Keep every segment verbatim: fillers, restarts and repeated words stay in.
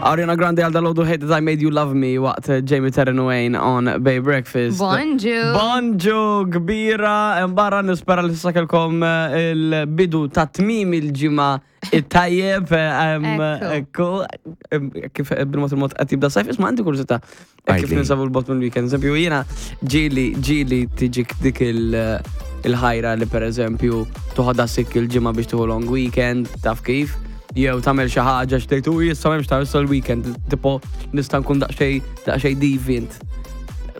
Ariana Grande għal dalgħodu, "Hate That I Made You Love Me", waqt Jamie Taryn Wayne on Bay Breakfast. Bonġu. Bonġu kbira, barra nispera li sakelkom eh, il-bidu ta' tmim il-ġimgħa it-tajjeb, em, Ekku. Ekku, em, kif bil-mod il-mod qed jibda sajf, isma', għandi kurżità. Kif Għidli. ninsabu 'l bogħod mill-weekend. Eżempju, jiena ġieli, ġieli tiġik dik il- il-ħajra li per eżempju toħodha sick il-ġimgħa biex tieħu long weekend, taf kif? Jew tagħmel xi ħaġa xtejt u jissa m'hemmx ta' issa l-weekend, tipo nista' nkun daqsxejn daqsxejn deviant.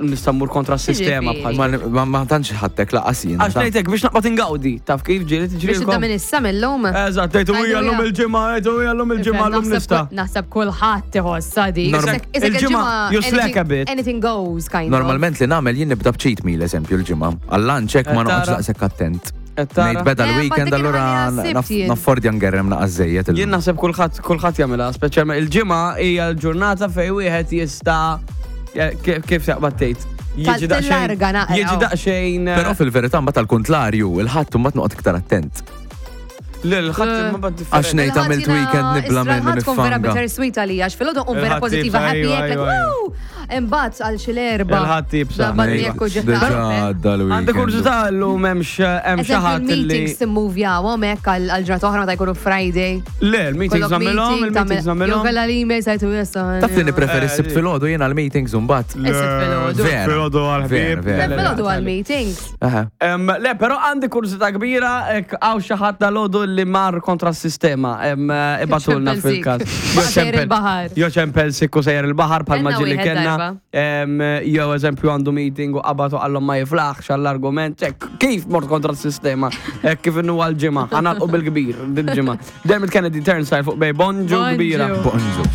Nista' mmur kontra s-sistema Jiġifieri. bħal. Ma, ma, ma tantx ħattek laqas jien. Għax ngħidlek biex naqbad ingawdi, taf kif ġieli tiġri Biex tibda minn issa, mill-lum. Eżatt, tgħidu Għajdu hija llum hija. il-ġimgħa, tgħidu hija llum il-ġimgħa, llum nista'. Naħseb kulħadd iħossha di. Norm- Isek- isek Il-ġimgħa, you slack a bit. Anything goes, kind of. Normalment li nagħmel jien nibda b'cheat meal, eżempju, l-ġimgħa. Għal-lunch hekk ma Qed noqgħodx tara? daqshekk attent. Qed tara? Ngħid beda Eh, l-weekend, ma dik allura il-ħajja naf- sibt jien. naffordja ngerrem naqas żejjed illum. Jien naħseb kulħadd kulħadd jagħmilha, speċjalment il-ġimgħa hija l-ġurnata fejn wieħed jista' kif kif taqbad tgħid. Jiġi daqsxejn. Tal-larga naqra. Jiġi daqsxejn. Però fil-verità mbagħad tal-kontlarju, il-Ħadd mbagħad noqgħod iktar attent. L-ħadd ma bad Għax ngħid għamilt weekend nibla minnu Ħadd tkun vera nifanga. bittersweet għalija, għax filgħodu nqum vera Il-Ħadd pozitiva, iebsa, happy, ejwa, hekk, like, ejwa, ejwa. woo! Imbagħad għal xi l-erba. Il-Ħadd iebsa. Naqbad Ejwa, jekk u ġiet Diġà taqbel. għadda l-weekend. Għandi kurżità, llum hemmx hemm xi Eżempju, ħadd li. il-meetings timmuvjawhom hekk għal ġurnata oħra meta jkunu Friday. Le, il-meetings Kollok nagħmilhom, meeting, il-meetings tagħmel- Jew nagħmilhom. kellha l-email sajtu jessa. Taf li nippreferi Eh, s-Sibt filgħodu jien għal-meetings mbagħad. Is-Sibt filgħodu. Vera. Filgħodu għal-ħbieb. Vera, vera. Filgħodu għal-meetings. Aha. Em, Le, però għandi kurżità kbira, ek, hawn xi ħadd dalgħodu li mar kontra s-sistema, em, ibagħtulna ċempel sick. fil-każ. Baqa' sejjer il-baħar. Jo ċempel sick u sejjer il-baħar bħal Kellna ġieli wieħed kellna. darba. Em, Jew eżempju għandu meeting u qabad u qallhom ma jiflaħx għall-argument. Ek, kif mort kontra s-sistema? Ek, kif innu għal-ġimgħa, ħa nagħlqu bil-kbir, dil-ġimgħa. Dermot Kennedy, Turnstile fuq Bay, bonġu Bonġu. kbira. Bonġu.